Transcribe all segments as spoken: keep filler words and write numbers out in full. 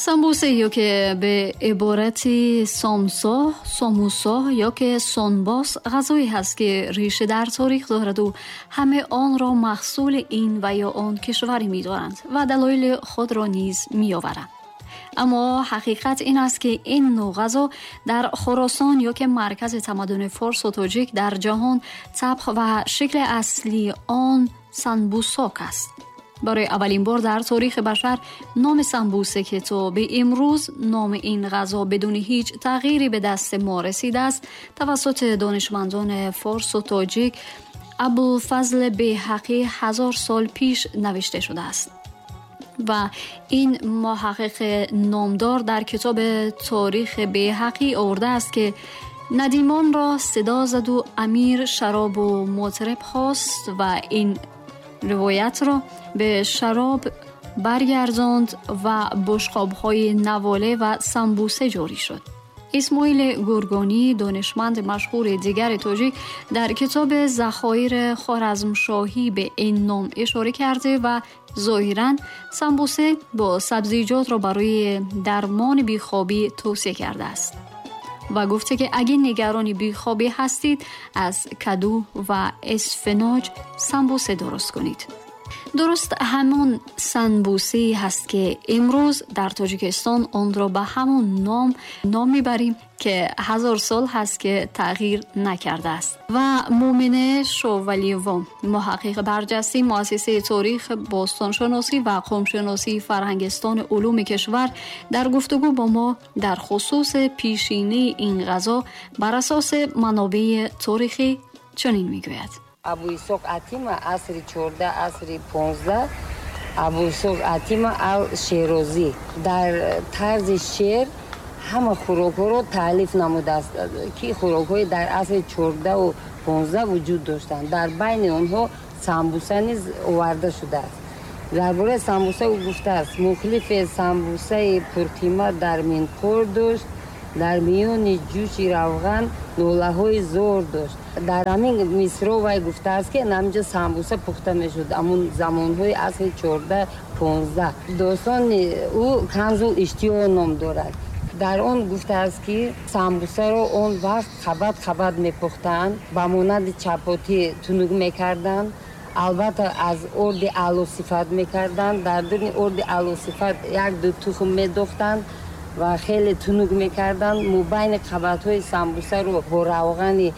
Самбусе ё ки ба иборати сомсо, сомусо ё ки сонбос ғизое ҳаст ки реша дар таърих дорад ва ҳама онро маҳсули ин ва ё он кишвар медонанд ва далоили худро низ меоваранд. Аммо ҳақиқат ин аст ки ин навъ ғизо дар Хуросон ё ки маркази тамаддуни форс ва тоҷик дар ҷаҳон табх ва шакли аслии он санбусок аст. Барои аввалин бор дар таърихи башар номи самбусе ки то ба имрӯз номи ин ғизо бидуни ҳеҷ тағйире ба дасти мо расидааст, тавассути донишмандони форс ва тоҷик Абулфазл Беҳақӣ ҳазор сол пеш навишта шудааст. Ва ин муҳаққиқи номдор дар китоби Таърихи Беҳақӣ овардааст ки надимонро садо зад ва амир шароб ва мутриб хост ва ин ривоятро ба шароб баргардонд ва бушқобҳои наволе ва самбусе ҷорӣ шуд. Исмоили Гургонӣ, донишманди машҳури дигари тоҷик, дар китоби Захоири Хоразмшоҳӣ ба ин ном ишора карда ва зоҳиран самбусе бо сабзиҷотро барои дармони бехобӣ тавсия кардааст ва гуфта ки агар нигарони бехобӣ ҳастед, аз каду ва исфиноҷ самбусе дуруст кунед. Дуруст ҳамон санбусе ҳаст ки имрӯз дар Тоҷикистон онро ба ҳамон ном ном мебарем ки ҳазор сол ҳаст ки тағйир накардааст. Ва Мӯмине Шовалиева, муҳаққиқи барҷастаи муассисаи таърих, бостоншиносӣ ва қавмшиносии Фарҳангистони улуми кишвар, дар гуфтугӯ бо мо дар хусуси пешинаи ин ғизо бар асоси манобеи таърихӣ чунин мегӯяд. Абу Исоқ Атима асри чордаҳ, асри понздаҳ, Абу Исоқ Атима ал-Шерозӣ дар тарзи шеър ҳама хӯрокҳоро таълиф намудааст, ки хӯрокҳои дар асри чордаҳу понздаҳ вуҷуд доштанд. Дар байни онҳо самбуса низ оварда шудааст. Дар бораи самбуса ӯ гуфтааст: мухлифи самбусаи пурқимат дар минқор дошт, дар миёни ҷӯши равған нолаҳои зор дошт. Дар ҳамин мисро вай гуфтааст, ки ҳаминҷо самбуса пухта мешуд ҳамун замонҳои асри чордаҳ понздаҳ. Достони ӯ Канзул Иштиё ном дорад. Дар он гуфтааст, ки самбусаро он вақт қабат қабат мепухтанд, ба монанди чапотӣ тунук мекарданд, албатта аз орди аълосифат мекарданд, дар дуни орди аълосифат як ду тухм медохтанд ва хеле тунук мекарданд. Мобайни қабатҳои самбусаро бо равғани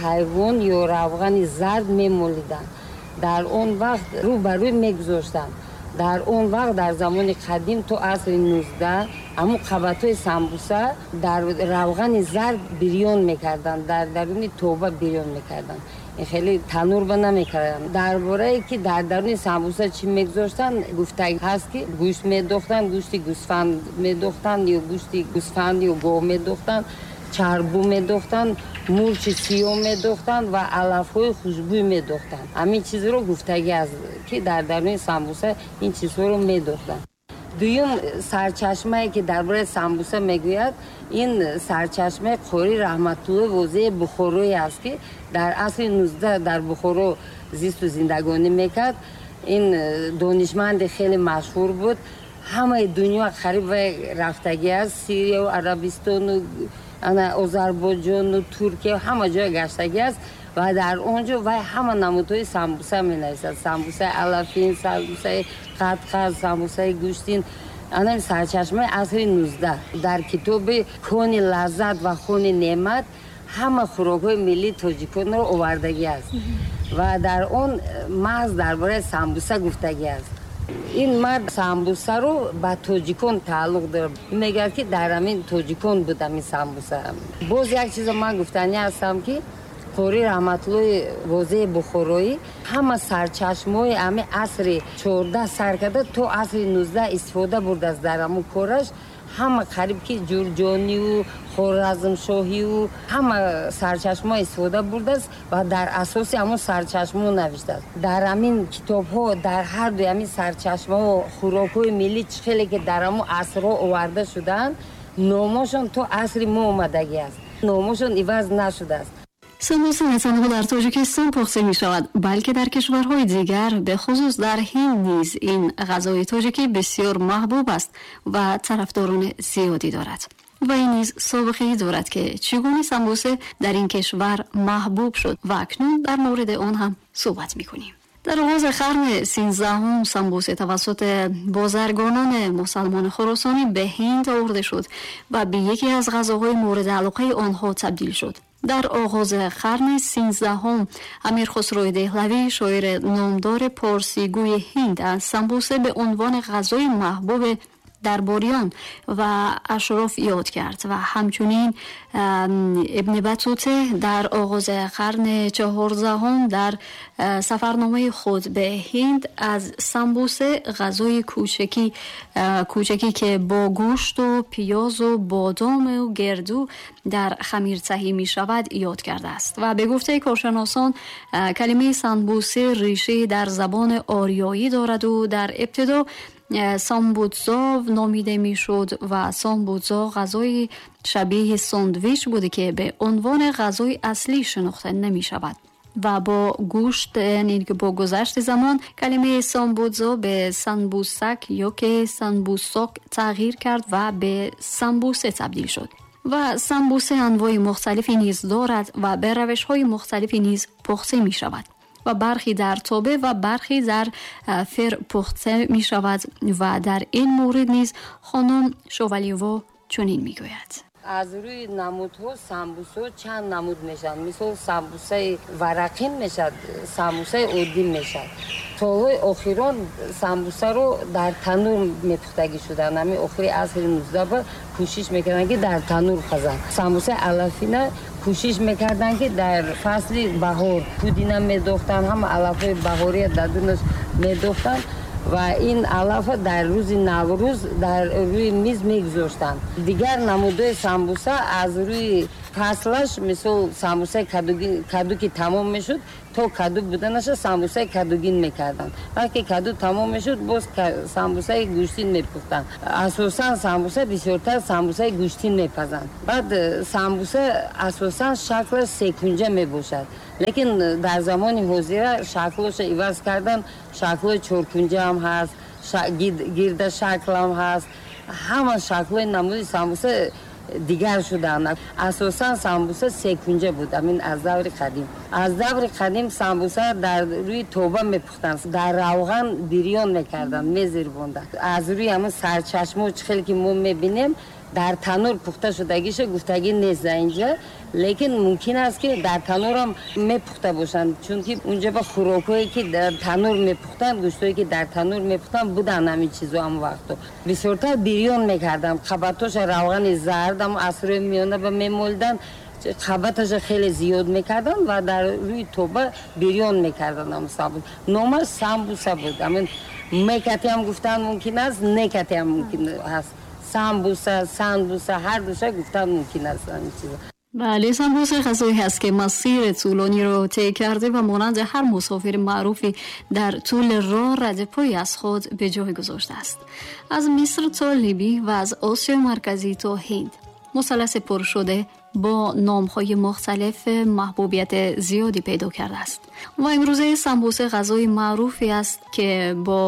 ҳайвон ё равғани зард мемолиданд. Дар он вақт рӯ ба рӯй мегузоштанд. Дар он вақт дар замони қадим то асри нуздаҳ ҳамун қабатҳои самбуса дар равғани зард бирён мекарданд, дар даруни тоба бирён мекарданд, хеле танурба намекарданд. Дар борае ки дар даруни самбуса чӣ мегузоштанд, гуфта ҳаст ки гӯшт медохтанд, гӯшти гӯсфанд медохтанд ё гӯшти гӯсфанд ё гов медохтанд, чарбу медохтанд, мурчи сиёҳ медохтанд ва алафҳои хушбӯй медохтанд. Ҳамин чизро гуфтагӣ аст, ки дар даруни самбуса ин чизҳоро медохтанд. Дуюм сарчашмае ки дар бораи самбуса мегӯяд, ин сарчашмаи Қори Раҳматуллои Возеи Бухорое аст, ки дар асри нуздаҳ дар Бухоро зисту зиндагонӣ мекард. Ин донишманди хеле машҳур буд, ҳамаи дунё қариб вай рафтагӣ аст, Сирияу Арабистону ана Озарбойҷону Туркия ҳама ҷой гаштагӣ аст ва дар он ҷо вай ҳама намудҳои самбуса менависад: самбусаи алафин, самбусаи қадқад, самбусаи гӯштин. Ана сарчашмаи асри нуздаҳ дар китоби Кони лаззат ва хони неъмат ҳама хӯрокҳои миллии тоҷиконро овардагӣ аст ва дар он маҳз дар бораи самбуса гуфтагӣ аст. Ин мард самбусаро ба тоҷикон тааллуқ дорад, мегӯяд, ки дар ҳамин тоҷикон буд ҳамин самбуса. Боз як чизо ман гуфтанӣ ҳастам, ки Қори Раҳматуллои Возеи Бухороӣ ҳама сарчашмаҳои ҳамин асри чордаҳ сар карда то асри нуздаҳ истифода бурдааст дар ҳамун кораш. Ҳама қариб ки Ҷурҷониву Хоразмшоҳиву ҳама сарчашмаҳо истифода бурдааст ва дар асоси ҳамун сарчашмаҳо навиштааст. Дар ҳамин китобҳо, дар ҳар дуи ҳамин сарчашмаҳо хӯрокҳои миллӣ чӣ хеле ки дар ҳамун асрҳо оварда шудаанд, номошон то асри мо омадагӣ аст, номошон иваз нашудааст. Самбуса на танҳо дар Тоҷикистон пухта мешавад, балки дар кишварҳои дигар, бехусус дар Ҳинд низ ин ғазои тоҷикӣ бисёр маҳбуб аст ва тарафдорони зиёдӣ дорад. Ва ин низ собиқае дорад, ки чӣ гуна самбуса дар ин кишвар маҳбуб шуд ва акнун дар мавриди он ҳам суҳбат мекунем. Дар оғози қарни сенздаҳум самбуса тавассути бозаргонони мусалмони хуросонӣ ба Ҳинд оварда шуд ва ба яке аз ғазоҳои мавриди алоқаи онҳо табдил шуд. Дар оғози қарни сенздаҳум Амир Хусрӯи Деҳлавӣ, шоири номдори порсигӯи Ҳинд, аз самбуса ба унвони ғазои маҳбуб дарбориён ва ашроф ёд кард ва ҳамчунин Ибни Батута дар оғози қарни чордаҳум дар сафарномаи худ ба Ҳинд аз самбуса ғазои кӯчакӣ кӯчакӣ ки бо гӯшт ва пиёз ва бодом ва герду дар хамир таҳия мешавад ёд кардааст. Ва ба гуфтаи коршиносон калимаи самбуса реша дар забони ориёӣ дорад ва дар ибтидо самбутзо номида мешуд ва самбутзо ғазои шабеҳи сандвич буда ки ба унвони ғазои аслӣ шинохта намешавад ва бо гӯшт, яъне ки бо гузашти замон калимаи самбутзо ба санбусак ё ки санбусок тағйир кард ва ба самбуса табдил шуд. Ва самбуса анвои мухталифе низ дорад ва ба равишҳои мухталифе низ пухта мешавад ва бархе дар тоба ва бархе дар фир пухта мешавад ва дар ин маврид низ хонум Шувалиева чунин мегӯяд. Аз рӯи намудҳо самбусаҳо чанд намуд мешаванд. Мисол самбусаи варақин мешавад, самбусаи оддӣ мешавад. Солҳои охирон самбусаро дар танур мепухтагӣ шуданд. Ҳамин охири асри нуздаҳ кӯшиш мекарданд, ки дар танур пазанд. Самбусаи алафина кӯшиш мекарданд, ки дар фасли баҳор пудина медохтанд, ҳама алафҳои баҳория дар дунаш медохтанд ва ин алафа дар рӯзи Наврӯз дар рӯи миз мегузоштанд. Дигар намудҳои самбуса аз рӯи фаслаш, мисол самбусаи каду ки тамом мешуд, то каду буданаша самбусаи кадугин мекарданд. Вақте каду тамом мешуд, боз самбусаи гӯштин мепухтанд. Асосан самбуса бисёртар самбусаи гӯштин мепазанд. Баъд самбуса асосан шаклаш секунҷа мебошад. Лекин дар замони ҳозира шаклоша иваз кардан, шаклҳои чоркунҷа ҳам ҳаст, гирда шакл ҳам ҳаст. Ҳама шаклҳои намуди самбуса дигар шуданд. Асосан самбуса секунҷа буд, амин аз даври қадим. Аз даври қадим самбуса дар рӯи тоба мепухтанд, дар равған бирён мекарданд, мезирбонданд. Аз рӯи ҳамин сарчашмо чӣ хеле ки мо мебинем, дар танур пухта шудагиша гуфтагӣ нест инҷа, лекин мумкин аст ки дар танурам мепухта бошанд, чунки унҷа ба хӯрокҳое ки дар танур мепухтанд, гӯштҳое ки дар танур мепухтанд буданд ҳамин чизо ҳам вақто. Бисёртар бирён мекарданд, қабатоша равғани зард ҳам асрҳои миёна ба мемолиданд, қабаташа хеле зиёд мекарданд ва дар рӯи тоба бирён мекарданд. Ҳам самбуса номаш самбуса буд. Ҳамин мекати ҳам гуфтан мумкин аст, некати ҳам мумкин аст. Самбуса, сандуса, ҳар душа гуфтан мумкин аст ҳамин чизо. Бале, самбуса ғазое ҳаст ки масири тӯлониро тай карда ва монанди ҳар мусофири маъруфе дар тӯли роҳ радпои аз худ ба ҷой гузоштааст. Аз Миср то Либӣ ва аз Осиёи Марказӣ то Ҳинд мусалласи пур шуда бо номҳои мухталиф маҳбубияти зиёде пайдо кардааст. Ва имрӯза самбуса ғазои маъруфе аст ки бо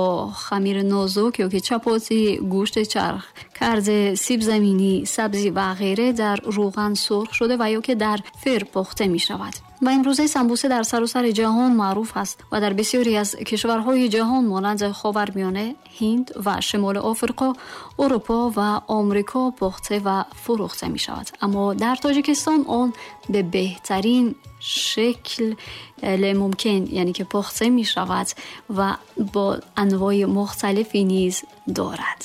хамири нозук ё ки чапотӣ, гӯшти чарх, кард, сибзаминӣ, сабзӣ ва ғайра дар равған сурх шуда ва ё ки дар фир пухта мешавад. Ва имрӯза самбуса дар саросари ҷаҳон маъруф аст ва дар бисёре аз кишварҳои ҷаҳон монанди Ховармиёна, Ҳинд ва Шимоли Офриқо, Аврупо ва Амрико пухта ва фурӯхта мешавад. Аммо дар Тоҷикистон он ба беҳтарин шакл мумкин, яъне ки пухта мешавад ва бо анвои мухталифе низ дорад.